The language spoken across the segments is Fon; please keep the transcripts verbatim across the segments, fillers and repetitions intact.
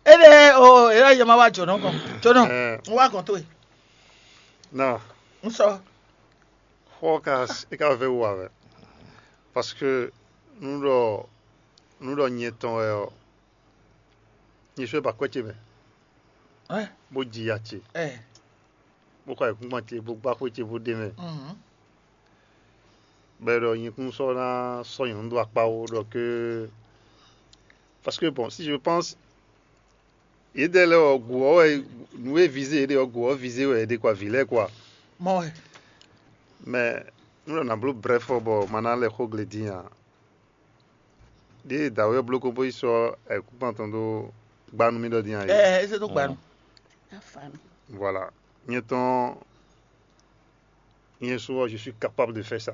Ene o, ela yɛ ma wa jɔnɔ kɔn. Jɔnɔ, un wa kɔn to e. Na, Un sɔ. Xɔ ka e ka vɛ wu avɛ. Parce que nu ɖɔ nu ɖɔ nyɛ tɔn wɛ ɔ, nyɛ sɔ ba kwɛ ce mɛ, Ɛ, bó ji ya ce, ɛ. Bó xɔ ayǐkúngban ce, bó gbá xwé ce, bó ɖe mɛ. Mhm. Bɛ ɖɔ nyɛ kún sɔ ná sɔ nyɔ̌nu dó akpá wo ɖɔ ke. Parce que bon, si je pense, yědɛɛ lɛ́ɛ ɔ́, gǔ ɔ́ wɛ nǔ e vize yě ɖe ɔ́, gǔ ɔ́ vize wɛ yě ɖe kwa vǐ lɛ́ɛ kwa. Mɔ wɛ. Mais nú ɖɔ nǎ bló brɛ́fɔ bɔ ma ná lɛ xó gle dín ǎ. Ɖěe dǎwe ɔ́ bló kó bó yi sɔ́ ayǐkúngban tɔn dó gbá nú mì ɖɔ dín ǎ é. Ɛ, ɛ, eze ɖó gbanu. Voilà. Nyɛ tɔn, nyɛ sɔ, je suis capable de faire ça.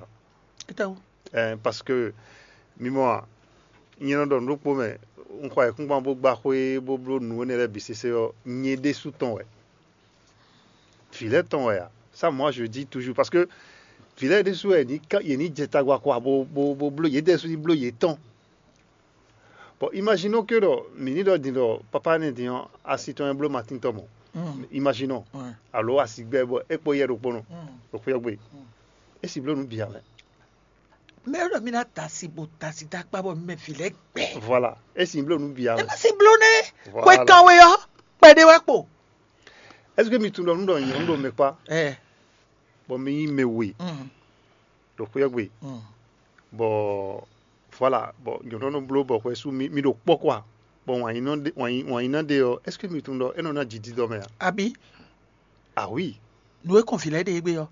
Étɛwú. Ɛɛ, parce que mi mɔ a, nyɛ nɔ ɖɔ nǔ ɖokpó mɛ, un xɔ ayǐkúngban bó gbá xwé bó bló nǔ énɛ́ lɛ́ɛ bǐ sésé ɔ́, nyɛ ɖésú tɔn wɛ. Vǐ lɛ́ɛ tɔn wɛ a? Ça, moi, je dis toujours, parce que vǐ lɛ́ɛ ɖésú wɛ yě ní ká- yě ní jɛ tagba kɔ bó bó bó bló yědɛɛ sú ní bló yětɔn. Bon, imaginons que ɖɔ mǐ ní ɖɔ din ɖɔ papa énɛ́ din ɔ́, asi tɔn wɛ bló Matín tɔn mɔ. Mm. Imaginons. Ouais. Alo asi gbɛ bɔ é kpó yɛ ɖokpónɔ. Mm. Ɖo xwé ɔ́ gbe. Mm. É si bló nǔ bǐ ǎ mɛ. Mɛ ɖɔ mi ná da asi bo da asi dó akpá bɔ mɛ vǐ lɛ́ɛ gbɛ. Voilà. É si bló nǔ bǐ ǎ Ɛ mɛ. Má si bló nɛ́. Voilà. Xwe kan we ɔ́, kpɛɖé wɛ kpo. Est-ce que mi tunwun ɖɔ nǔ ɖɔ nyɔ̌nu ɖo mɛ kpá? Ɛ. Bɔ mi nyí mɛ we. Mm. Ɖo xwé ɔ́ gbe. Mm. Bɔ voilà, bɔ nyɔ̌nu nɔ bló bɔ xwɛ sú mi mi ɖo kpɔ́ kɔ a? Bɔ wǎn yí nɔ ɖe wǎn yí wǎn yí ná ɖe ɔ́, est-ce que mi tunwun ɖɔ é nɔ ná jǐ dídɔ mɛ a? Abi. Ah oui. Nǔ e kɔn vǐ lɛ́ɛ ɖe égbé ɔ́,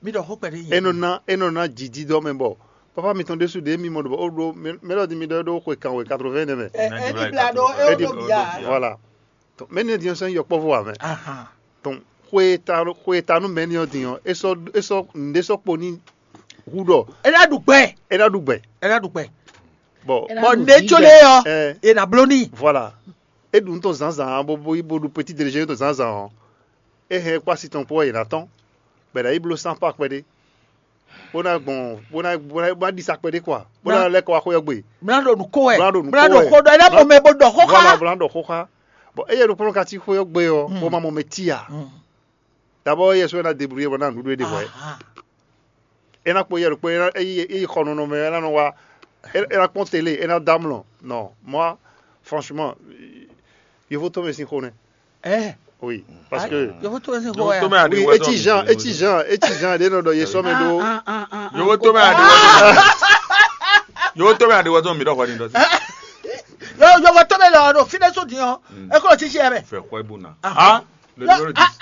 mi ɖɔ xó kpɛɖé. É nɔ ná é nɔ ná jǐ dídɔ mɛ bɔ papa mitɔn ɖésú ɖě mi mɔ ɖo bɔ ó ɖó mɛ- mɛɖɔ din mi ɖɔ é ɖó xwe kan wɛ quatre-vingts nɛ mɛ. Ɛ ɛ ní bla ɖo é Edi- ó ɖó bia. Voilà. Donc mɛ ní din ɔ́ sɛn yɔkpɔ́vɔ wà mɛ. Ahan. Donc xwe ta xwe ta nú mɛ ní ɔ́ din ɔ́ é sɔ́ é sɔ́ nǔɖé sɔ́ kpo ní hu ɖɔ É ná ɖu gbɛ. É ná ɖu gbɛ. É ná ɖu gbɛ. Bon. É ná Bɔ ɖu nɛ tso lé ɔ, ɛ é ná bló ní. Voilà. É ɖu nú tɔn zǎnzǎn bó bó bó ɖu petit déjeuner tɔn zǎnzǎn ɔ́. É hɛn kpó asi tɔn kpó wɛ yě ná tɔ́n. Bɔ è nǎ yi bló sán kpá kpɛɖé. Bó ná gbɔn bó ná bó ná bó ná ɖi sa kpɛɖé kɔ a? Bó ná lɛ́ kɔ wá xwé ɔ́ gbe. Mlá ɖo nǔ kó wɛ. Mlá ɖo nǔ Mlá kó ɖo wɛ. Xó ɖɔ é ná mɔ mɛ bó ɖɔ xó xá. Voilà, bó ná ɖɔ xó xá. Bon, éyɛ́ ɖokpónɔ ka cí xwé ɔ́ gbe ɔ́, bó ma mɔ mɛ tí a. D'abord éyɛ́ sɔ́ é ná débrouiller bɔ ná nǔɖuɖu é ɖe hwɛ̌. Aha. É ná kpó éyɛ́ ɖokpó é ná é yi é yi xɔ nɔnɔ mɛ é ná nɔ wá é é ná kpɔ́n télé é ná dó amlɔ. Non, moi, franchement, yovo tɔn mɛ sín xó nɛ́. Ɛ Oui, parce que yɔfɔ tó ɛsɛ kɔ Yɔwɔ ya. Tɔmɛ adi oui, wɛ eti jean eti jean eti jean ɖe nɔ ɖɔ ye sɔ mɛ ɖo. Yɔwɔ tɔmɛ adi wɛ tɔmɛ. Yɔwɔ tɔmɛ adi wɛ tɔmɛ mi ɖɔ kɔni dɔ. Yɔwɔ tɔmɛ lɔ ɖo fi ɖe so diɲɔ. Ekɔ titi yɛ mɛ. Fɛ kɔ ibu na. Ah, le numéro dix.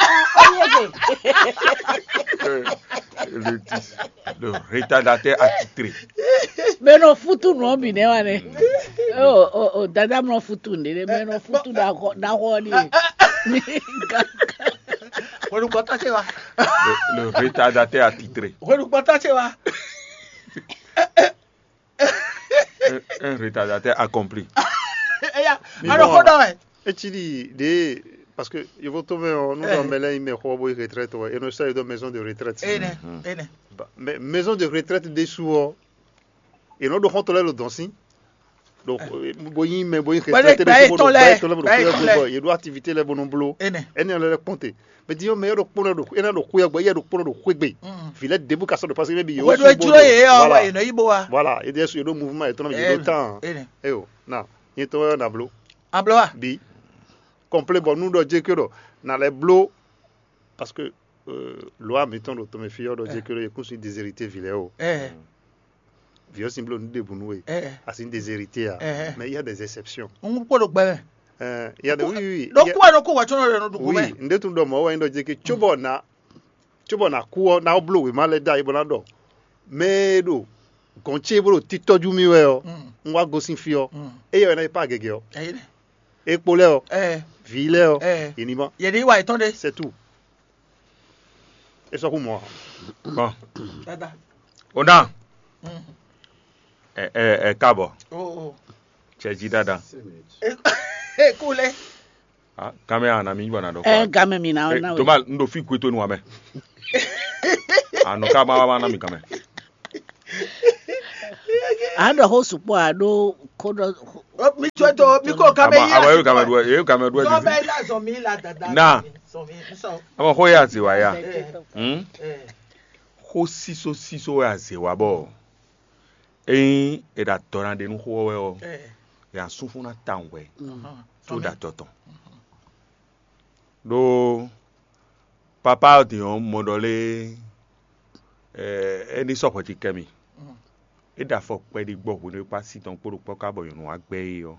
Le dix. Le retardateur attitré. Mɛ nɔ futu nɔ mi nɛ wa nɛ. O o o dada mɔ futu nɛ dɛ mɛ nɔ futu da xɔ da xɔ ni. Hwenukpɔtɔ ce wa. Le, le retardateur attitré. Hwenukpɔtɔ ce wa. Un, un retardateur accompli. Eya, alo xɔ dɔ wɛ. Etsi ɖi ɖe parce que yovo to mɛ ɔ nu dɔ mɛ lɛ yi mɛ xɔ bo yi retraite wɛ eno sɛ yi dɔ maison de retraite. Ene ene. Ba- mais maison de retraite ɖésú ɔ, yě nɔ ɖo xɔ́ntɔn lɛ́ɛ ɖo dɔ̌n sín. Donc, bo yí mɛ bo yí Wɛlé xɛsɛ tɛ́ gba ɖésú bó etɔn ɖo lɛ́ɛ, gba etɔn lɛ́ɛ bó ɖo gba etɔn xúyɔ lɛ́ɛ. Gbogbo yě ɖo activité lɛ́ɛ bó nɔ bló. Ene. Ɛnɛ lɛ́ɛ kpɔn te. Mais disons mɛ yɛ ɖo kpɔn ɖo ɛnɛ ɖo xúyɔ gbɔ yɛ ɖo kpɔn ɖo xúgbe. Mm. Vi lɛ́ɛ débou ka sɔ́ ɖo parce que maybe yóò Wɛlé sún dúró bó yé ɔ voilà. Wɛ yénɔ yí bó wa. Voilà, yé désú yé ɖo mouvement yě tɔn yé ɖo Ene. Temps. Ene. Eyo, na, yé tɔn yɛ na bló. Ablɔ wa. Bi. Complet bɔ nu ɖɔ jɛ ke ɖɔ na lɛ bló parce que euh, loi mǐtɔn ɖo tɔnmɛ fí ɔ́ ɖɔ jɛ ke ɖɔ yě kún sín déshérité vi lɛ́ɛ o. Ɛ Vieux Simblo nous débrouillons. Eh, eh. À une des héritiers. Eh, eh. Mais il y a des exceptions. On peut le bain. Euh, il y a des, oui, oui, oui. Donc, quoi, donc, quoi, tu as le nom du Oui, gouvernement nde tun dɔ mɔ wa ndo je ke tsobo na tsobo na ku na oblo we ma le da ibo na do. Mais do gonche bro tito ju mi we o. Mm. Nwa go sin fi o. Mm. E yo na pa gege o. Eh, E kpo lɛ o. Eh, Vi lɛ o. Eh. Inima. Il y a des wa étonné. C'est tout. E sɔ xú mɔ. Bon. Dada. O na. Mm. Ɛ ɛ ɛ káàbọ̀. Oh, oh. Cɛ jí dáadáa. E e kule. Ah, kámẹ́rà na mi gbọ́n na dɔ. Ɛ game mi na na. Toma n do fi kue to nu amɛ. Anu ká ma ma na mi kamɛ. A ɖɔ xó sukpɔ a ɖo ko ɖɔ Mi tsɔ́ tó, mi kó ká mɛ yí. Àwọn yóò ká mɛ dúró, yóò ká mɛ dúró. Zɔn bɛ la zɔn mi la dada. Na. Zɔn mi sɔn. Àwọn kó yà sí wáyà. Xó sísó sísó wɛ azě wa bɔ. Eyin e ɖa dɔ na ɖe nú xó wɛ ɔ, ya sún fún ná tawun wɛ. Tó ɖa dɔ tɔn. Ɖó papa ɔ́ din ɔ́ mɔ ɖɔ lé. É ní sɔ́ hwɛ ci kɛ mì. É ɖo afɔ kpɛɖí gbɔ hwenu e kpá sí tɔn kpó ɖokpɔ́ ká bɔ nyɔ̌nu wá gbɛ é ɔ́.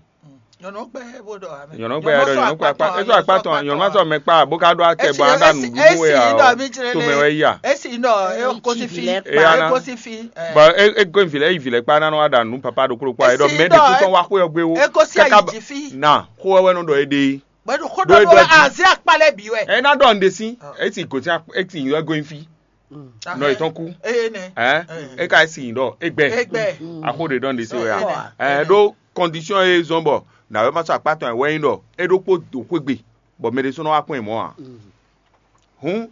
Nyɔ̌nu gbɛ é ɖɔ nyɔ̌nu gbɛ é ɖɔ nyɔ̌nu gbɛ akpá é sɔ akpá tɔn nyɔ̌nu ma sɔ mɛ kpá bó ká ɖó acɛ bɔ aɖa nǔɖuɖu é ǎ ɔ. Tomɛ wɛ yí a. Esi nɔ é kó sí fi é kó sí fi. Bɔ é é gɔn vilɛ yi vilɛ kpá nanɔ aɖa nǔ papa ɖokpó ɖokpó a é ɖɔ mɛ ɖe kú tɔn wá xwé ɔgbé wo. É kó sí ayi jí fi. Na xó wɛ nɔ ɖɔ é ɖe. Bɛdu xó ɖɔ nɔ wɛ azi akpa lɛ bi wɛ. Ɛ na ɖɔ nɖe sí esi gòtí esi yɔ gɔn fi. Nɔ yetɔn kú. Eye nɛ. Ɛ e ka esi nyi ɖɔ egbɛ. Egbɛ. Axo ɖe ɖɔ nɖe sí wɛ a. Ɛ ɖó kɔndisiyɔn e zɔn bɔ nǎwe ma sɔ akpá tɔn ɛ wɛ nyí ɖɔ é ɖokpó do xwégbe bɔ mɛ ɖé sɔ́ nɔ wá kpɔ́n ɛ mɔ̌ ǎ. Hǔn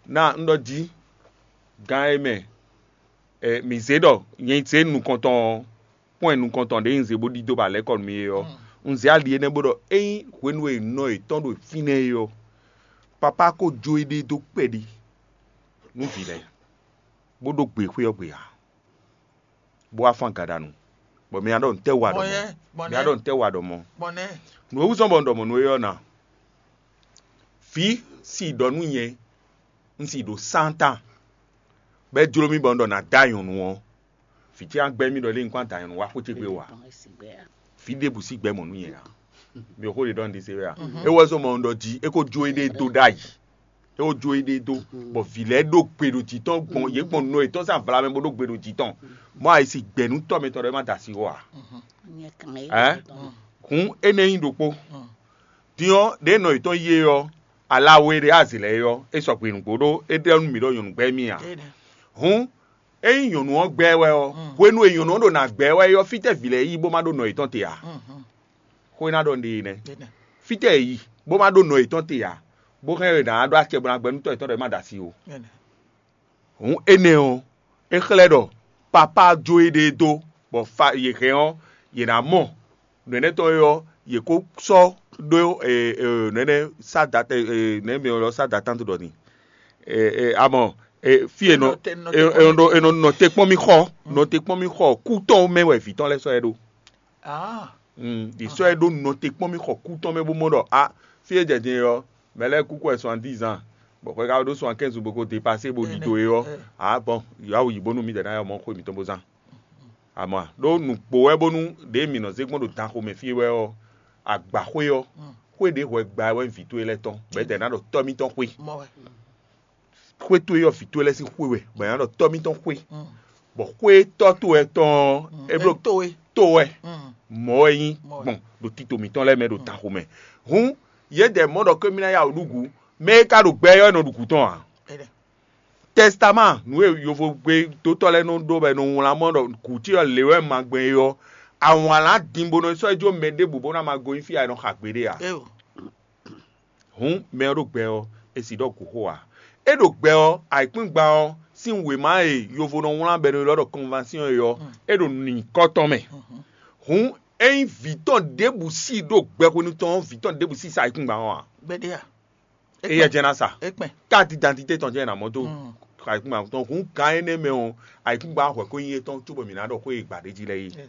ná un ɖɔ jí gán e mɛ mǐ zé ɖɔ nyɛ zé nukɔntɔn ɔ́ kpɔ́n ɛ nukɔntɔn ɖě un zé bó ɖidó ba lɛ́ kɔ nú mì é ɔ́, un zé ali énɛ́ bó ɖɔ ényí hwenu e nɔ yětɔn ɖo fínɛ́ é ɔ́, papá ko jó éɖée dó kpɛɖí nú vǐ lɛ́ɛ, bó ɖó gbe xwé ɔ́ gbe ǎ, bó wá fán gaɖanu, bɔ mi ná ɖɔ nǔtɛ́ wa ɖɔ mɔ̌? Mi ná ɖɔ nǔtɛ́ wa ɖɔ mɔ̌? Nǔ e wú zɔ́n bɔ un ɖɔ mɔ̌ nú we ɔ́ na? Vǐ si ɖɔ nú nyɛ, un si ɖo sántán, bɔ é jló mì bɔ un ɖɔ nǎ dó anyɔ̌nu ɔ́, vǐ ce ná gbɛ́ mì ɖɔ lé un kɔn adǎ nyɔ̌nu wá xwé ce gbe wá. Vǐ ɖěbǔ sí gbɛ́ mɔ̌ nú nyɛ ǎ. Mi ò xó ɖe ɖɔ un ɖi se wɛ a? É wɛ zɔ́n mɔ un ɖɔ jí é ko jó éɖée dó ɖ'ayǐ. É ko jó éɖée dó, bɔ vǐ lɛ́ɛ ɖó gbe ɖo jǐ tɔn gbɔn yě gbɔn nɔ yětɔn sín avla mɛ bó ɖó gbe ɖo jǐ tɔn. Mɔ ayǐ si gbɛ̌ nú tɔ́ mitɔn ɖɔ é má da asi xó ǎ. Ɛ? Hǔn énɛ́ nyí ɖokpó. Din ɔ́, ɖě nɔ yětɔn yí é ɔ́, alawe ɖě azǐ lɛ́ɛ é ɔ́, é sɔgbe nǔgbó ɖó é ɖɔ nú mǐ ɖɔ nyɔ̌nu gbɛ́ mì ǎ. Hǔn ényí nyɔ̌nu ɔ́ gbɛ́ wɛ ɔ́, hwenu e nyɔ̌nu ɔ́ ɖo nǎ gbɛ́ wɛ é ɔ́, fítɛ́ vǐ lɛ́ɛ yi bó má ɖó nɔ yětɔn te ǎ. Xó e ná ɖɔ nɖe é nɛ́. Fítɛ́ è yi bó má ɖó nɔ yětɔn te ǎ, bó hɛn è nǎ ɖó acɛ bó ná gbɛ́ nú tɔ́ yětɔn ɖɔ é má ɖo asi ó. Hǔn énɛ́ ɔ́, é xlɛ́ ɖɔ papá jó éɖée dó, bɔ fa yě hɛn ɔ́, yě ná mɔ nǔ énɛ́ tɔn é ɔ́, yě kó sɔ́ ɖó nɛ̌nɛ́ sádata nɛ̌ mi ylɔ́ sádata ɖɔ ni? Amɔ fí e nɔ è nɔ te kpɔ́n mì xɔ nɔ te kpɔ́n mì xɔ kú tɔn mɛ wɛ vǐ tɔn lɛ́ɛ sɔ́ ɛ ɖó. Ɖi sɔ́ ɛ ɖó nɔ te kpɔ́n mì xɔ kú tɔn mɛ bó mɔ ɖɔ a fí e jɛ din ɔ́, mɛ lɛ́ɛ kú kɔ ɛ soixante-dix ans, bɔ xwɛ ka ɖó soixante-quinze bó ko dépasé bó ɖidó é ɔ́, a bɔn yǎwǔ yi bónú mǐdɛɛ ná yɔ mɔ xwé mǐtɔn bó zán. Amɔ ɖó nǔgbó wɛ bónú ɖěe mǐ nɔ zé gbɔn ɖo danxomɛ fí é wɛ ɔ́, agbaxwé ɔ́, xwé ɖě hwɛ gba wɛ vǐ towe lɛ́ɛ tɔn, bɔ é dɛ ná ɖɔ tɔ́ mítɔn xwé. Xwé towe ɔ́, vǐ towe lɛ́ɛ sín xwé wɛ, bɔ è nǎ ɖɔ tɔ́ mítɔn xwé, bɔ xwé tɔ́ towe tɔn ɔ́, é bló to wɛ, mɔ̌ wɛ nyí gbɔn ɖo tito mǐtɔn lɛ́ɛ mɛ ɖo danxomɛ. Hǔn yědɛɛ mɔ ɖɔ kémí ná yá wǔ ɖu gǔ, mɛ e ka ɖo gbɛ ɔ́, é nɔ ɖu gǔ tɔn ǎ. Tɛstamán nǔ e yovogbe dótɔ́ lɛ́ɛ nɔ ɖó bɔ è nɔ wlán mɔ ɖɔ gǔ ce ɔ́ lě wɛ ma gbɛn é ɔ́, awǎnlán din bó nɔ sɔ́ yi jó mɛ ɖěbǔ bó ná ma gonyí fí a è nɔ xa gbeɖé ǎ. Hǔn mɛ ɔ́ ɖo gbɛ ɔ́, è sì ɖɔ gǔxo ǎ. É ɖo gbɛ ɔ́, ayǐkúngban ɔ́ sín wěma e yovo nɔ wlán bɔ è nɔ ylɔ́ ɖɔ kɔnvansyɔ́n é ɔ́, é ɖo nyǐkɔ tɔn mɛ. Hǔn ényí vǐ tɔn ɖěbǔ sí ɖo gbɛ hwenu tɔn ɔ́, vǐ tɔn ɖěbǔ sí sa ayǐkúngban ɔ́ ǎ. Gbeɖé a? Éyɛ́ jɛ́n ná sa. Ékpɛn. Carte d'identité tɔn jɛ́n è nǎ mɔ dó ayǐkúngban tɔn. Hǔn gǎn énɛ́ mɛ ɔ́, ayǐkúngban hwɛ̌ ko nyí étɔn cóbɔ mǐ ná ɖɔ xwé e è gbǎ ɖ'é jí lɛ́ɛ é.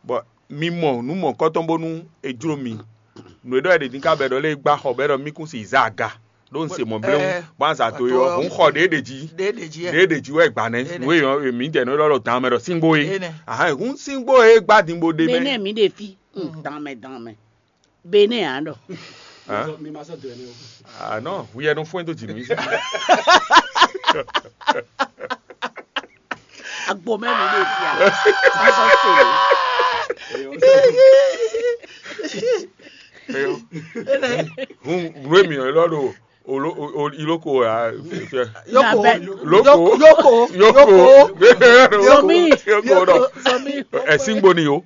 Bɔ mi mɔ nǔ mɔ̌kɔtɔn bónú è jló mi. Nǔ e ɖɔ è ɖe din ká bɔ è ɖɔ lé gbá xɔ bɔ é ɖɔ mí kún si zá aga ɖó un se mɔ̌ bléwún bɔ un za do é ɔ́, hǔn xɔ ɖě ɖe jí. Ɖě ɖe jí wɛ è gbǎ nɛ́. Nǔ e mǐ jɛ nǔ élɔ́ ɖɔ dan mɛ ɖɔ síngbó é. Ahán hǔn síngbó é gbá din bó ɖe mɛ. Mɛ nɛ mǐ ɖe fí. Dan mɛ dan mɛ. Benin ǎ ɖɔ. Mi ma sɔ́ dó ɛnɛ o. Ah non, we are not going to Jimmy. Agbo mɛ mi ɖe fia. Ma sɔ se mi. Hun nue mi lɔ do olo iloko ya. Yoko. Loko. Yoko. Yoko. Zomi. Yoko dɔ. Zomi. Ɛsingbo ni o.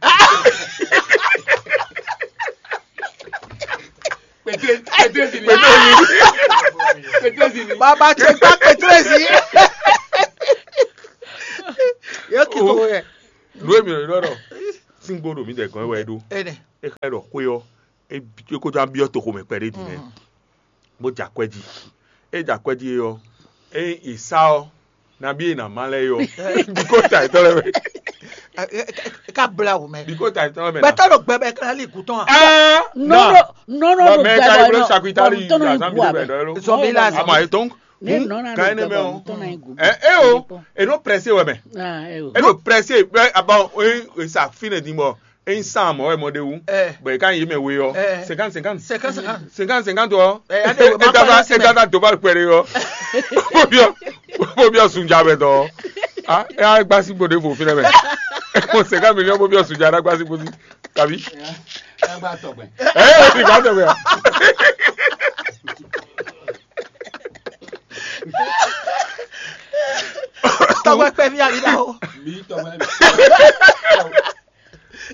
Pétré pétré si ni. Pétré si ni. Baba tse gba pétré si. Yóò kí kókó yẹ. Nue mi lɔ do. síngbó ɖo mǐdɛɛ gɔ́n wɛ é ɖó. É xlɛ́ ɖɔ xwé ɔ́, é ko ná byɔ́ toxo mɛ kpɛɖé din nɛ́, bó jɛ akwɛ́ jí. É jɛ akwɛ́ jí é ɔ́, ényí è sá ɔ́, nabí è nǎ má lɛ́ɛ é ɔ́, bǐ ko ta yětɔn lɛ́ɛ mɛ. Ká bla wò mɛ. Bǐ ko ta yětɔn lɛ́ɛ mɛ. Gbɛtɔ́ ɖo gbɛ mɛ ká lí gǔtɔn a? Nɔ nɔ nɔ nɔ Mɛ gbɛ ka bɔ yi nɔ wlé sakitari bɔ nɔ tɔn na yi gu abɛ. Azan Zɔnbi la Ama yetɔn. Ne nɔ na Kan ɖo ene gbɛ mɛ bɔ o. nɔ tɔn na yi gu. Ɛ ɛ o. E nɔ pressé wɛ mɛ. Ah, ɛ o. E nɔ pressé bɛ abɔ e sa fine din bɔ e san mɔ wɛ mɔ de wu. Ɛ. Bɔn e kan yi mɛ we yɔ. Ɛ. Cinquante cinquante. Cinquante cinquante. Cinquante cinquante ɔ. Ɛ, ya de we ma E dada kpala si e mɛ. Dada doba kpɛrɛ yɔ. Bobiɔ bobiɔ sunja bɛ dɔ. Ah, e a gbasi gbo de vo fi nɛ mɛ. Mo cinquante millions bobiɔ sunja na gbasi gbo si. Kabi. Ɛ o ti gba tɔ gbɛ. Tɔgbɛ kpɛ mi ali da o.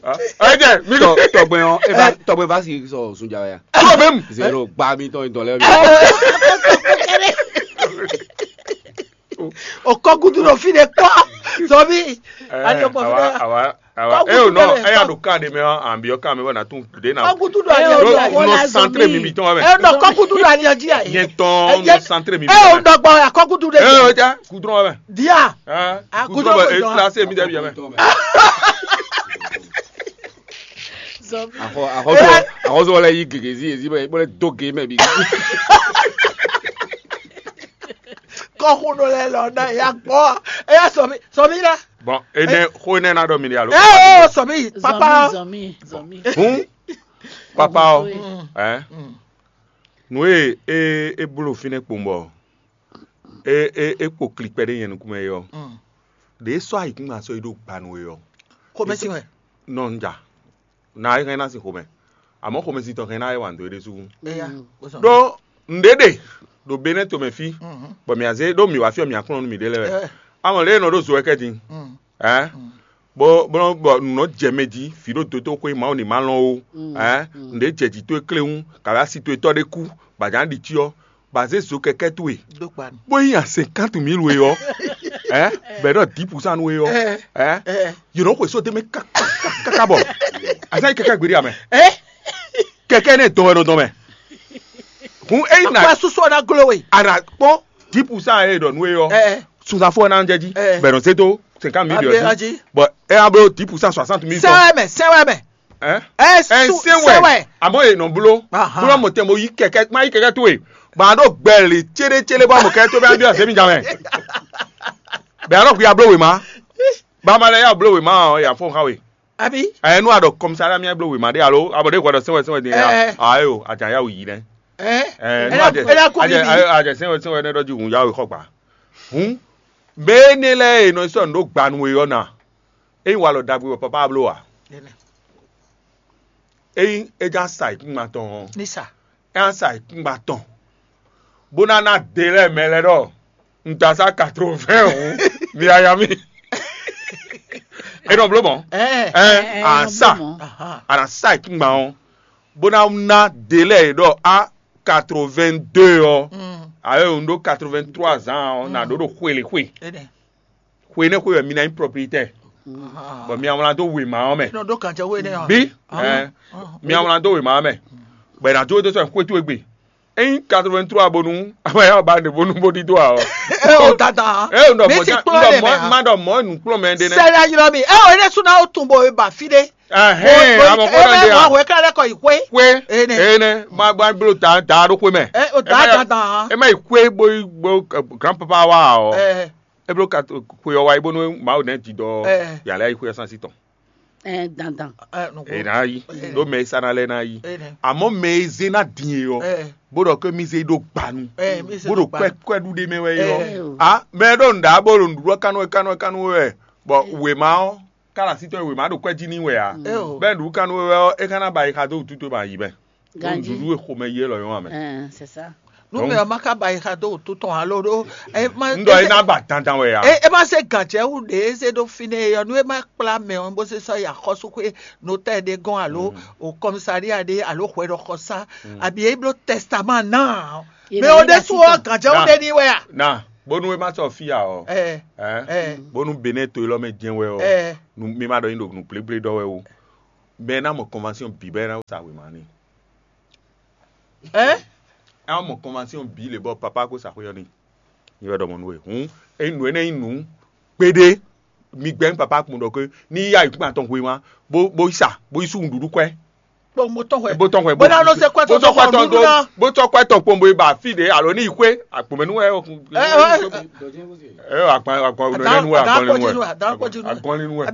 Ɛ jɛ mi Tɔ- tɔ. Tɔgbɛ ɔn, e va tɔgbɛ va si sɔ sunja ya. Tɔ bɛ mu. Zero gba mi tɔn dɔn lɛ. O kɔkutu ɖo fi ɖe kpɔ. Zɔnbi. Ali o kpɔ fi Awa ɖe. Awa awa. Kɔkutu E o nɔ bɛ- e ya ɖo kan de mɛ ɔ, an bi ɔ kan mɛ bɔ na tun de na. Kɔkutu ɖo ali Ɛ o o nɔ ya. ko la Nɔ santre zɔnbi. Mi bi tɔn wɛ. E nɔ kɔkutu ɖo ali o ji ya. Yɛn tɔn nɔ santre mi bi E o tɔn. Dɔgbɔ ya kɔkutu ɖe. E o ja kudrɔn wɛ. Dia. Ah, Ah, kudrɔn kudrɔn wɛ. wɛ E dɔn. Classe mi de bi yɛ mɛ. Zɔnbi. Axɔ axɔsɔ axɔsɔ lɛ yi gege zi ezi bɛ bɛ do ge mɛ bi. Kɔkutu ɖo lɛ lɔ na ya gbɔ. E ya sɔmi sɔmi la. Bon, ene xo ene na ɖɔ mi de alo. E o sɔmi papa. Zɔnbi zɔnbi. Hun, papa o. Mm. Ɛ. Nu e e e blo fi ne kpɔn bɔ. E e e kpo klikpɛ ɖe nyɛ nukun mɛ yɔ. Ɖe sɔ ayikun ma sɔ yi ɖo gbanu yɔ. Xomɛsi wɛ. Nɔ n ja. Na e hɛn na sin xomɛ. Amɔ xomɛsi tɔn hɛn na e wa n do e ɖe sugu. Eya. Wosɔn. Ɖo nɖe ɖe ɖo Benɛ tomɛ fi, bɔ mia zé ɖo mi wá fi ɔ mia kplɔ́n nú mi ɖe lɛ wɛ. Amɔ lě e nɔ ɖo zo wɛ kɛ din. Ɛ. Bɔ bɔ bɔ nɔ jɛ mɛ jí fi ɖo dotoxwe Mawu ni ma lɔn o. Ɛ. Nɖe jɛ jí towe kléwún kaɖo asi towe tɔ ɖe kú, bɔ a jǎ ɖi cyɔ, bɔ a zé zo kɛkɛ towe. Ɖo kpa nu. Bó yí yan cinquante mille we ɔ. Ɛ. Bɛ ɖɔ dix pour cent nu we ɔ. Ɛ. Yě nɔ xwe só dé mɛ kákáká bɔ. A zá yi kɛkɛ gbeɖi amɛ. Kɛkɛ ne dɔn wɛ nɔ dɔn mɛ. Hun eyi na Akpa susu ɔna glo we. Ana kpɔn dix pour cent e ɖɔ nú e ɔ. Ɛ. Sunzafo ɔna jɛ jí. Ɛ. Bɛ nɔ zé dó cinquante mille Abe yɔ aji. Jí. Bɔn e a blo dix pour cent soixante mille tɔn. Sɛwɛ mɛ sɛwɛ mɛ. Ɛ. Ɛ Ɛ su se sɛwɛ. Wɛ. Amɔ e nɔ blo. Aha. Blo mɔ tɛ mo yi kɛkɛ ma yi kɛkɛ to ye. Bɔn a ɖo gbɛ le céɖé céɖé bɔ a mɔ kɛkɛ to bɛ a bi ɔsɛ mi jamɛ. Bɛ a ɖɔ kú ya blo we ma. Ba ma lɛ ya blo we ma ɔ ya fɔ xa we. Abi. Ɛ nu a ɖɔ kɔmisa ɖe mi blo we ma ɖe alo a bɔ ɖe hwɛ ɖɔ sɛwɛ sɛwɛ din ya. Ɛ. Ayo a jan ya wu yi nɛ. Ɛ nu Ɛ a jɛ ɛ la ko a jɛ bibi. A jɛ sɛwɛ sɛwɛ ne ɖɔ ji hun ya we xɔ gba. Hun. Mɛ énɛ́ lɛ́ɛ e nɔ sɔ́ nǔ ɖó gbanu e ɔ́ ná, ényí walɔ ɖagbe wɛ papa bló a? Ényí é já sa ayǐkúngban tɔn ɔ́, Ní sa. é ná sa ayǐkúngban tɔn, bó ná ná de lɛ́ɛ mɛ lɛ́ɛ ɖɔ un da sá quatre-vingts hǔn, mi yaya mì. É nɔ bló mɔ̌. Ɛ. Ɛ Ɛ, à nɔ sá bló mɔ̌. Aha. à nà sá ayǐkúngban ɔ́, bó ná ná de lɛ́ɛ ɖɔ á quatre-vingt-deux ɔ́, Mm. ayɔ un ɖó quatre-vingt-trois ans ɔ́, nà ɖó ɖo xwe le xwe. Ene. Xwe énɛ́ xwe wɛ mi ná nyí propriétaire. Aha. Bɔ mi awlan dó wěma ɔ́ mɛ. Nɔ ɖó kan jɛ wo énɛ́ ɔ́. Bí Aha. ɛ, mi awlan dó wěma ɔ́ mɛ. Bɔ è nǎ jó dó sɔn xwé towe gbe. Ényí quatre-vingt-trois bonu, ama yà ba ne bonu bó dídó a ɔ. Ɛ o dada. Ɛ o nɔ Mi mɔ ti ja kplɔ́ nɔ lɛ mɔ mɛ ha. Ma nɔ mɔ nukplɔ́n mɛ ɖe nɛ. Sɛlɛ yɔrɔ mi. Ɛ o énɛ́ sún náà ó tún bɔ ba fi ɖé. Ɛhɛn, amɔ kó Ɛ nɔ mɛ de wà a. wɛ kílá lɛ kɔ yi xwé. Xwé. Ene. Ene. Ma ba blo da da ɖó xwé mɛ. Ɛ o da dada. Ɛ ma yi xwé bó bó grand papa wa ɔ. Ɛ E blo ka xwé ɔ wa yi bónú Mawu nɛ ti dɔ Ɛ. yàrá yi xwé ɔ sán sí tɔn. Ɛ dandan. ɛ nɔ E na yi. Ɖó mɛ e sa na lɛ na yi. Ene. Àmọ́ mɛ e zé ná din e ɔ. Ɛ. Bó ɖɔ ké mi zé ɖó gbanu. Ɛ mi se Bó do ɖo gba. Kwɛ kwɛ ɖu ɖe mɛ wɛ yɔ. Ɛ. A mɛ ɖo nǔɖá bó ɖo nǔɖuɖu kánú wɛ kánú wɛ kánú wɛ. Bɔ wěma ɔ́, kára sí tɔn wěma ɖo kwɛ jí ní wɛ a. Ɛ o. Bɛ ɖu kánú wɛ ɔ, e ka ná ba yi xa dó wútu tó ba yi bɛ. Ganji. Ɖuɖu e xomɛ yi lɔ yɔn amɛ. Ɛ c'est ça. Numɛ ɔ ma ka ba yi xa dó wútu tɔn alo ɖó. Ɛ ma. Ŋdɔ e ná ba dandan wɛ a. E e ma se gànjɛ wu ɖe e se ɖo fi nɛ yɔ nu e ma kpla mɛ ɔ bó se sɔ yi axɔsúxwé notɛ ɖe gɔn alo o kɔmisaria ɖe alo hwɛɖɔxɔsá abi e bló tɛsitaman ná. Ye Mɛ na o yi ɖe la sú titɔ. Ɔ gànjɛ wu ɖe ní wɛ a. Na bónú e ma sɔ fi ya ɔ. Ɛ Ɛ ɛ bónú Benin to lɔ mɛ jɛn wɛ ɔ. ɛ Nu mi ma ɖɔ nyi ɖo nu pléplé ɖɔ wɛ o. Bɛn ná mɔ convention bǐ bɛn ná sa wěma n'i. Ɛ? Ɛ mɔ convention bǐ lě bɔ papa ko sa xwé ɔ́ n'i. Nyɛ wɛ ɖɔ mɔ nú we. Hǔn é nǔ énɛ́ nyí nǔ kpéɖé. Mi gbɛ́ papa kpɔn ɖɔ ke ní yí ayǐkúngban tɔn hwema bó bó yi sa bó yi sú nǔɖuɖu kwɛ́. Kpɔn mo tɔn hwɛ. Bó tɔn hwɛ Bó ná ló se kwɛ tɔn dó xɔ nǔɖuɖu ná. Bó tɔn kwɛ tɔn kpɔn bó yi ba fí ɖě alo ní yi xwé akpɔmɛnú wɛ. Ɛ, ɛ, ɛ. Ɛ, akpɔn akpɔn nɛnɛ nu wɛ akpɔn nɛnɛ nu wɛ. Akpɔn nɛnɛ nu wɛ.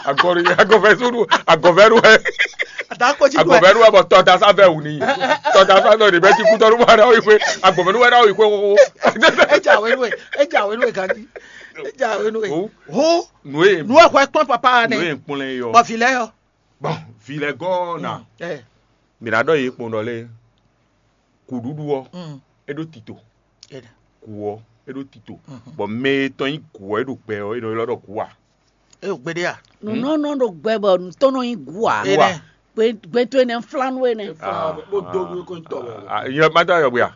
Akpɔn nɛnɛ nu wɛ. Akɔfɛ sunu akɔfɛ nu wɛ. Akɔfɛ nu wɛ bɔ tɔta sa fɛ wuni. Tɔta sa fɛ wuni bɛ ti kutɔ nu wɛ na yi xwé akɔfɛ nu wɛ na yi xwé xoxo. Eja wenu e eja wenu e gandi. Eja wenu e. Ho nu e nu e xɔ kpɔn papa ne. Nu e kpɔn lɛ yɔ. Bɔ fi lɛ yɔ. Bɔn fi lɛ gɔn na. Ɛ. Mi na dɔ yi kpɔn dɔ le. Kùɖuɖu ɔ́, é ɖó tito. Kù ɔ́, é ɖó tito. Bɔ mɛ e tɔn nyí kù ɔ́, é ɖo gbɛ ɔ́, é nɔ ylɔ́ ɖɔ kù a? É ɖo gbeɖé a? Nǔnɔ́nɔ ɖo gbɛ bɔ nǔ tɔn nɔ nyí gǔ a? Gbe gbe to énɛ́ flánú énɛ́. Bó dó nú kó tɔ wɛ. Yɔ má dá yɔ gbé a?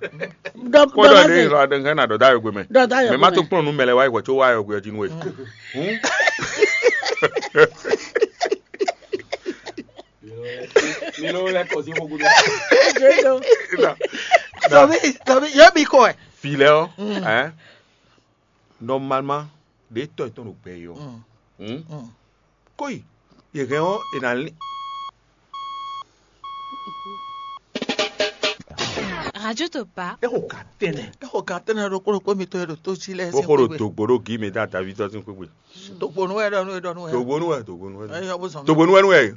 Kpɔ́dɔ ɖé ylɔ́ aɖe hɛn na ɖɔ dá yɔ gbé mɛ. Mɛ má tó kplɔ́n nú mɛ lɛ wá yi hwɛ có wá yɔ gbé ɔ́ jí nú we. Hǔn? Mi ló lɛ kɔ sí xógúdú. Tɔbi tɔbi yɛ mi kɔ ɛ. Fi lɛ ɔ, ɛ, normalement ɖe tɔ etɔn ɖo gbɛ yi ɔ. Kóyi yɛ hɛn ɔ e na lin. Radio Topa. Exo ka tɛnɛ. Exo ka tɛnɛ ɖokpó ɖokpó mi to e ɖo tó jí lɛ. Bó xo ɖo dogbo ɖo gí mi dá David tɔn sín xwégbé. Dogbonu wɛ ɖɔ nu e ɖɔ nu wɛ. Dogbonu wɛ dogbonu wɛ. Eyɔ bó zɔn. Dogbonu wɛ nu wɛ.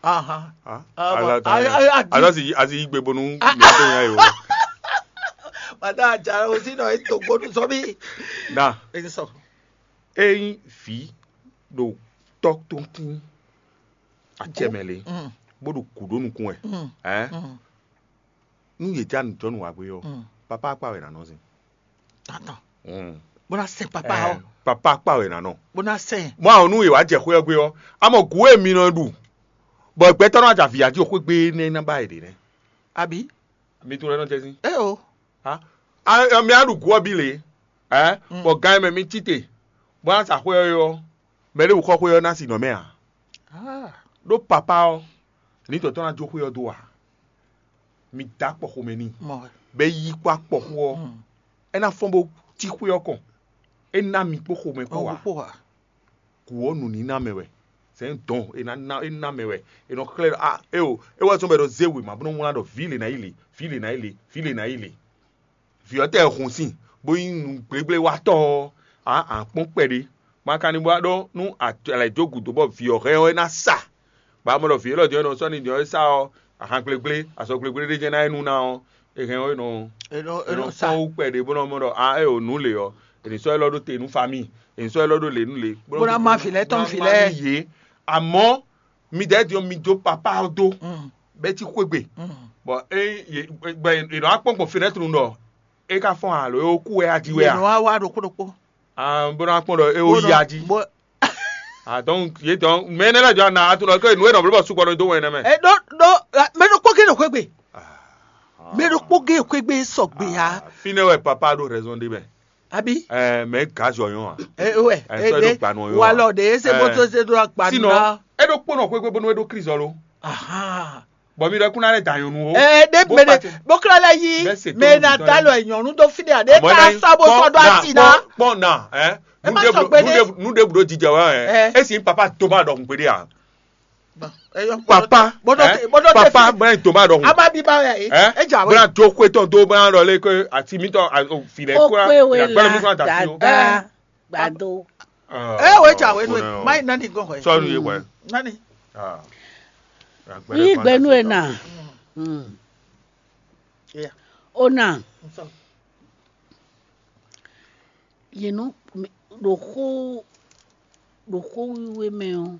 Ahan. Ala ta ya. Ala si asi yi gbe bonu mi to nya yo. Mata aja o si nɔ e dogbonu sɔ mi. Na. E sɔ. Eyin fi ɖo tɔ tó kín acɛ mɛ le bó ɖo kú ɖó nukún wɛ. Ɛ. Nú yě já nǔjɔnú wá gbé ɔ́, papá akpá wɛ nǎ nɔ zin. Atɔn. Bó ná sɛn papá ɔ́. Papá akpá wɛ nǎ nɔ. Bó ná sɛn. Mɔ àwọn nú yě wá jɛ xwé ɔ́ gbé ɔ́, a mɔ gǔ e mi nɔ ɖu, bɔ gbɛtɔ́ nɔ ajá vǐyá jí xwé gbé énɛ́ ná ba yě ɖě nɛ́. Abi. Mi tunwun lɛ́ nɔ jɛ sín. Ɛ o. A mi á ɖu gǔ ɔ́ bí lě, ɛ, bɔ gan e mɛ mi cí te, bó ná sa xwé ɔ́ é ɔ́, mɛ ɖěbǔ xɔ xwé ɔ́ ná sin nɔ mɛ ǎ. Ɖó papá ɔ́, ní tɔ̌tɔ́ ná jó xwé ɔ́ dó ǎ. Mi dó akpɔ xomɛ n'i, bɔ é yí kpó akpɔxó ɔ́, é ná fɔ́n bó cí xwé ɔ́ kɔn. É ná mi kpó xomɛ kpó ǎ. Kú ɔ́ nǔníná mɛ wɛ. Sɛ̌n dɔn é ná ná é ná mɛ wɛ. È nɔ xlɛ́ ɖɔ a éo é wɛ zɔ́n bɔ è nɔ zé wěma bó nɔ́ wlán ɖɔ vǐ lě ná yi lě, vǐ lě ná yi lě, vǐ lě ná yi lě. Vǐ ɔ́ tɛ hun sin bó nyí nǔgblégbléwatɔ́ ɔ́, a a kpɔ́n kpɛɖé. Ma ka ní bó wá ɖɔ nú alɛ jó gǔdo bɔ vǐ ɔ́ hɛn ɔ́ é ná sa. Bɔ a mɔ ɖɔ vǐ élɔ́ din ɔ́ é nɔ sɔ́ ni din ɔ́ é sá ɔ́, ahan gblégblé, azɔgblégblé ɖé jɛ́n ná é nú ná ɔ́, è hɛn ɔ́ é nɔ é nɔ fɔ́n wú kpɛɖé bó nɔ mɔ ɖɔ a é o nǔ lě ɔ́, è nǐ sɔ́ élɔ́ ɖó te nú famíi, è nǐ sɔ́ élɔ́ ɖó lě nú lě. Bó ná má vǐ lɛ́ɛ tɔn vǐ lɛ́ɛ. Yě. Amɔ̌ midɛɛ din ɔ́, mi jó papá ɔ́ dó bɛ́ cí xwé gbe. Bɔ é yě gbɛ è nɔ wá kpɔ́n gbɔn fenɛ́tru ɖɔ é ka fɔ́n alo é kú wɛ á jí wɛ a? Yě nɔ wá wá ɖokpó ɖokpó. Ah, bó ná kpɔ́n ɖɔ é ó yi a jí. Ah, donc yě dɔn mɛ énɛ́ lɛ́ɛ jɔ ana a tunɔ ke nǔ e nɔ bló bɔ sukpɔ nɔ dó wɛn nɛ́ mɛ. Ɛ ɖó ɖó mɛ ɖokpó gé ɖo xwé gbe. Mɛ ɖokpó gé xwé gbe sɔgbe ya. Fínɛ́ wɛ papa ɖo raison ɖe mɛ. Abi. Ɛ mɛ gazɔ yɔn a. Ɛ wɛ. Ɛ sɔ ɖo gbanu yɔn. Walɔ de ese bó tó se ɖo agbanu na. Sinon, é ɖo kpɔ́n nɔ xwé gbe bónú é ɖo Kristu lɔ. Ahan. Bɔ mi ɖɔ kún ná lɛ da nyɔnu o. Ɛ ɖe mɛ ɖe bó kla lɛ yi mɛ na da lɔ nyɔnu dó fi ɖe a ɖe ka sa bó sɔ ɖo asi na. Kpɔn na ɛ. Ɛ ma sɔ gbe ɖe. Nu ɖe bu ɖo jijɛ wa ɛ. Esi papa to ma ɖɔ kun gbe ɖe a. Papa ɛ papa bɛ to ma ɖɔ kun. Ama bi ba yɛ. Ɛ bɛ na jo kwe tɔn do bɛ na ɖɔ le ko ati mi tɔ filɛ kura gbɛlɛ mi fana da fi o. Gbado. Ɛ wo eja wenu e ma yi nani gɔn hwɛ. Sɔnu ye wɛ. Nani. Yí gbɛnu e na. Ona. Yě nɔ ɖo xó ɖo xó wiwe mɛ ɔ́,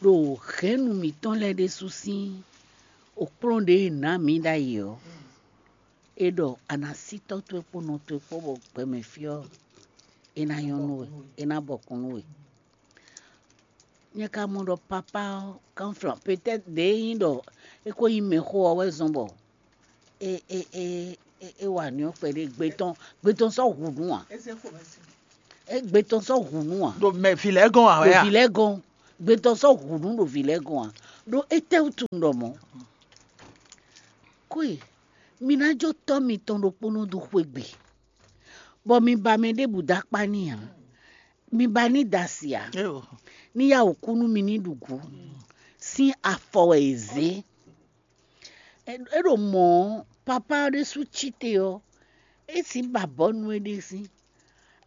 ɖo hɛ̌nnu mǐtɔn lɛ́ɛ ɖésú sín òkplɔ́n ɖě è nǎ mǐ ɖ'ayǐ ɔ́, è ɖɔ a nǎ sí tɔ́ towe kpó nɔ towe kpó bɔ gbɛmɛ fí ɔ́, é ná nyɔ́ nú we, é ná bɔkun nú we. Nyɛ ka mɔ ɖɔ papá ɔ́, kanflan, peut-être ɖě nyí ɖɔ é ko nyí mɛxó ɔ́ wɛ zɔ́n bɔ é é é é é wa nǔ ɔ́ kpɛɖé gbe tɔn gbe tɔn sɔ́ hu nǔ ǎ. É gbe tɔn sɔ́ hu nǔ ǎ. Ɖo mɛ vǐ lɛ́ɛ gɔ́n ǎ wɛ a? Ɖo vǐ lɛ́ɛ gɔ́n. Gbɛtɔ́ sɔ́ hǔnú ɖo vǐ lɛ́ɛ gɔ́n ǎ. Ɖó étɛ́wútu un ɖɔ mɔ̌? Kwe, mi ná jó tɔ́ mitɔn ɖokpónɔ dó xwé gbe, bɔ mi ba mɛ ɖěbǔ dó akpá n'i ǎ. Mi ba ní da asi ǎ. Ní yá wǔ kú nú mi ní ɖu gǔ. Sín afɔ wɛ è zě. É ɖo mɔ̌ ɔ́, papá ɔ́ ɖésú cí te ɔ́, é sǐ ba bɔ̌nu é ɖésú.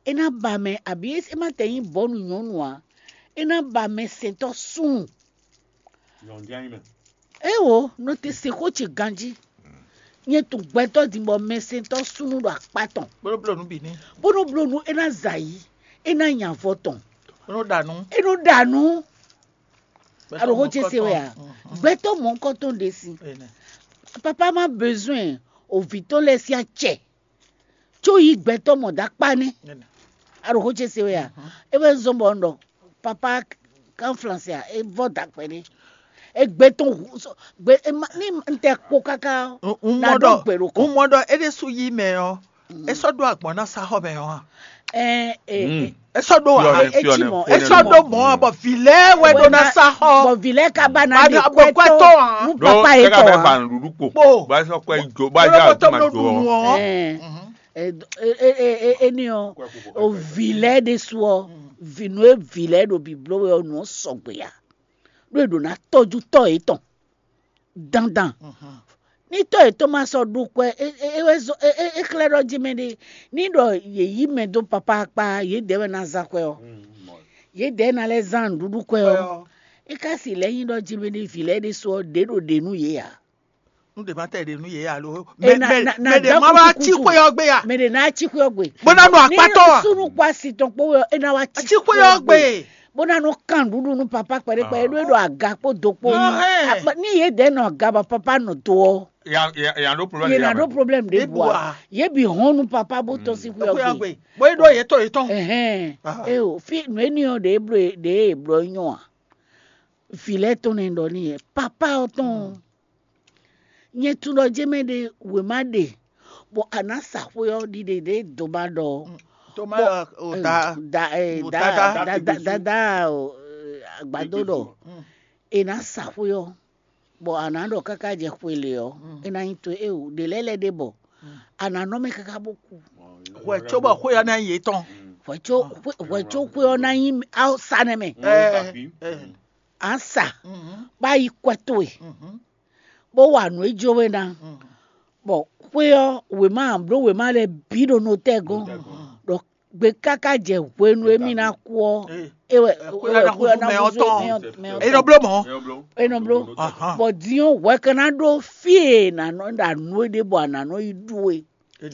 É ná ba mɛ, abǐ é má tɛ nyí bɔ̌nu nyɔ̌nu ǎ. É ná ba mɛsɛntɔ́ súnnu. Éwo, nɔ te se xó ce ganjí. Nyɛ tunwun gbɛtɔ́ din bɔ mɛsɛntɔ́ súnnu ɖo akpá tɔn. Blóbló nú bǐ ní. Bó nɔ bló nú é ná zɛ ayǐ, é ná nya avɔ tɔn. Bó nɔ ɖa nú. É nɔ ɖa nú. Aɖo xó ce se wɛ a? Gbɛtɔ́ mɔ̌hunkɔtɔn ɖe si. Papa má besoin o vǐ tɔn lɛ́ɛ sín acɛ. Có yí gbɛtɔ́ mɔ dó akpá nɛ́. Aɖo xó ce se wɛ a? É wɛ zɔ́n bɔ un ɖɔ papa kan flansɛ a, é vɔ dó akpɛ nɛ́. É gbé tɔn hu sɔ gbé é ma ní un tɛ kpo káká ɔ́. Un na mɔ ɖɔ ɖó gbè ɖo kɔ. Un mɔ ɖɔ é ɖésú yí mɛ ɔ́, é sɔ́ ɖó agbɔ̌n ná sá xɔ mɛ ɔ́ a? Ɛ ɛ Mm. É sɔ́ ɖó a? Fiɔnɛ, É ci fiɔnɛ, mɔ, é fiɔnɛ sɔ́ mɔ. Ɖó mɔ ɔ́ bɔ vǐ lɛ́ɛ wɛ ɖó ná sá xɔ. Bɔ vǐ lɛ́ɛ ka ba ná Ba ɖe ná bɔ kwɛ́ kwɛ́ tɔn. Tɔn a? Nú Ɖó papa é kaka tɔn bɛ a? Ba nuɖuɖu kpo. Kpo. Ba sɔ kwɛ jo, ba Bolo ja bɔ tɔn do blo do. Ɖu nu ɔ. Ɛ Mhm. Ɛ, ɛ, ɛ, ɛ, ɛ, eni ɔ, o vǐ lɛ́ɛ ɖésú ɔ, vǐ nú e vǐ lɛ́ɛ ɖo bǐbló wɛ ɔ, nǔ ɔ́ sɔgbe ǎ. Ɖó è ɖǒ ná tɔ́jú tɔ́ yětɔn dandan. Ní tɔ́ yětɔn ma sɔ́ ɖu kwɛ, é, é, é wɛ zɔ́n, é, é, é xlɛ́ ɖɔ jí mɛ ɖé, ní ɖɔ yě yí mɛ dó papá kpá, yědɛɛ wɛ ná zán kwɛ ɔ́. Yědɛɛ ná lɛ́ zán nǔɖuɖu kwɛ ɔ́. É ka si lɛ́ nyí ɖɔ jí mɛ ɖé vǐ lɛ́ɛ ɖésú ɔ́, ɖě ɖo ɖě nú yě ǎ. Nú ɖě ma tɛ ɖě nú yě alo. Mɛ ɖě má wá cí xwé ɔ́ gbe a? Mɛ ɖě ná cí xwé ɔ́ gbe. Bó ná nɔ akpátɔ a? Súnú kpó asi tɔn kpó wɛ é ná wá cí xwé ɔ́ gbe. Bó ná nɔ kan nǔɖuɖu nú papá kpɛɖé kpɛɖé ɖó é ɖo aga kpó do kpó. Ní yě dɛ́ nɔ aga bɔ papá nɔ do ɔ́, yě ná ɖó problème ɖé bu a? Yě bǐ hɔn nú papá bó tɔn sín xwé ɔ́ gbe. Bó é ɖó yě tɔn yě tɔn. Ɛhɛn. Eo fí nǔ énɛ́ ɔ́ ɖě bló ɖě è bló nyɔ́ a? Vǐ lɛ́ɛ tɔn nɛ́ ɖɔ n'i yɛ, papá ɔ́ tɔn. Nyɛ tunwun ɖɔ jɛ́n mɛ ɖé wěma ɖe, bɔ a nǎ sa xwé ɔ́ ɖiɖe ɖě doma ɖɔ. Toma o da da eh, o da dada da da da da o eh, agbadó ɖɔ. È nǎ sa xwé ɔ́, bɔ a nǎ ɖɔ káká jɛ xwe lě ɔ́, é ná nyí towe. Eo ɖě lɛ́ɛ lɛ́ ɖe bɔ a nǎ nɔ mɛ káká bó kú. Hwɛ cóbɔ xwé ɔ́ ná nyí yětɔn. Hwɛ có xwé- hwɛ có xwé ɔ́ ná nyí awúsa nɛ́ mɛ. Ɛ ɛ. A sa bá yi kwɛ towe, bó wa nǔ e jó we ná. Bɔ xwé ɔ́, wěma bló wěma lɛ́ɛ bǐ ɖo notɛ́ gɔ́n, ɖɔ gbe káká jɛ hwenu e mì ná kú ɔ́, é wɛ é wɛ xwé ɔ́ ná húzú mɛ ɔ́ tɔn. É nɔ bló mɔ̌. É nɔ bló. Bɔ din ɔ́, hwɛ ka ná ɖó fí e nǎ nɔ ɖa nǔ e ɖě bɔ a nǎ nɔ yi ɖu é.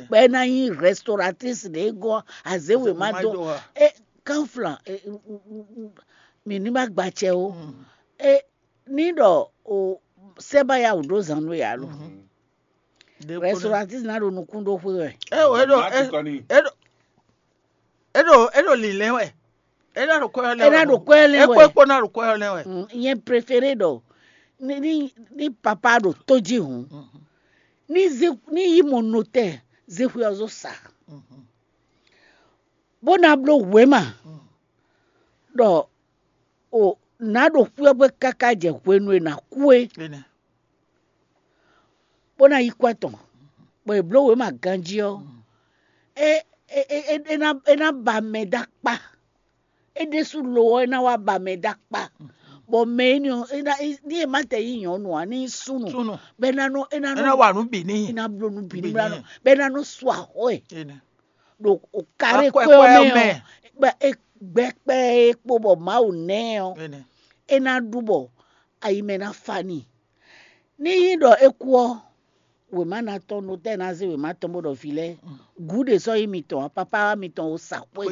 Bɔ é ná nyí restauratrice ɖě gɔ́ azé wěma dó. É kánflan, mǐ ní ma gba acɛ ó. É ní ɖɔ o sɛ́ ba ya wǔ ɖó zan nú we alo. Restauratrice ná ɖo nukún ɖó xwé wɛ. É ɖo é ɖo é ɖo é ɖo lǐnlɛ́n wɛ. É ná ɖo kwɛ́ ɔ́ lɛ́n É ná ɖo kwɛ́ ɔ́ lɛ́n wɛ. É kpó ná ɖo kwɛ́ ɔ́ lɛ́n wɛ. Nyɛ préféré ɖɔ ní ní ní papa ɖo tó jí hǔn, ní zé ní yí mɔ notɛ́ zé xwé ɔ́ zó sa, bó ná bló wěma ɖɔ o nǎ ɖo xwé ɔ́ gbe káká jɛ hwenu e nǎ kú é, bó ná yí kwɛ́ tɔn, bɔ è blǒ wěma ganjí ɔ́, é é é é é ná é ná ba mɛ dó akpá. É ɖésú lo ɔ́, é ná wá ba mɛ dó akpá, bɔ mɛ énɛ́ ɔ́, é ná ní è má tɛ nyí nyɔ̌nu ǎ, ní nyí súnnu, bɔ é ná nɔ é ná nɔ wa nǔ bǐ n'i. É ná bló nǔ bǐ n'i bɔ é ná nɔ su axɔ́ ɛ ɖo karé kpé ɔ́ mɛ ɔ́, gbɛ kpɛ́ é kpo bɔ Mawu nɛ́ ɛ ɔ́, é ná ɖu bɔ ayi mɛ ná fa n'i. Ní nyí ɖɔ é kú ɔ́, wěma ná tɔn, notɛ́ ná zé wěma tɔn bó ɖɔ vǐ lɛ́ɛ, gǔ ɖě sɔ́ nyí mitɔn ǎ, papá wá mitɔn o sa xwé.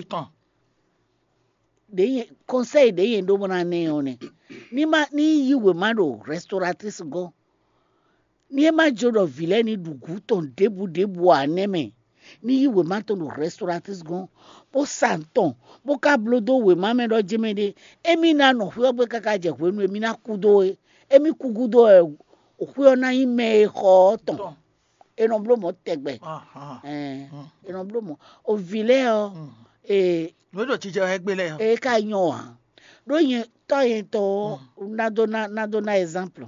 Ɖě nyɛ kɔnsɛ́yi ɖě nyɛ ɖó bó ná ná ɛ ɔ́ nɛ́. Ní má ní yí wěma ɖo rɛstoratis gɔ́n. Ní é má jó ɖɔ vǐ lɛ́ɛ ní ɖu gǔ tɔn ɖěbǔ ɖěbǔ ǎ nɛ́ mɛ, ní yí wěma tɔn ɖo rɛstoratis gɔ́n, bó sa nǔ tɔn, bó ka bló dó wěma mɛ ɖɔ jɛ́n mɛ ɖé, émí ná nɔ xwé ɔ́ gbe káká jɛ hwenu e mí ná kú dó é. Émí kú gúdo wɛ xwé ɔ́ ná nyí mɛ e xɔ ɔ́ tɔn. È nɔ bló mɔ̌ tɛgbɛ. Ɛɛ, è nɔ bló mɔ̌. O vǐ lɛ́ɛ ɔ́, ee, nǔ e ɖo jijɛ wɛ gbé lɛ́ɛ ɔ́. Ee ka nyɔ ǎ. ɖó nyɛ tɔ́ nyɛtɔn ɔ́ ná dó ná ná dó ná exemple.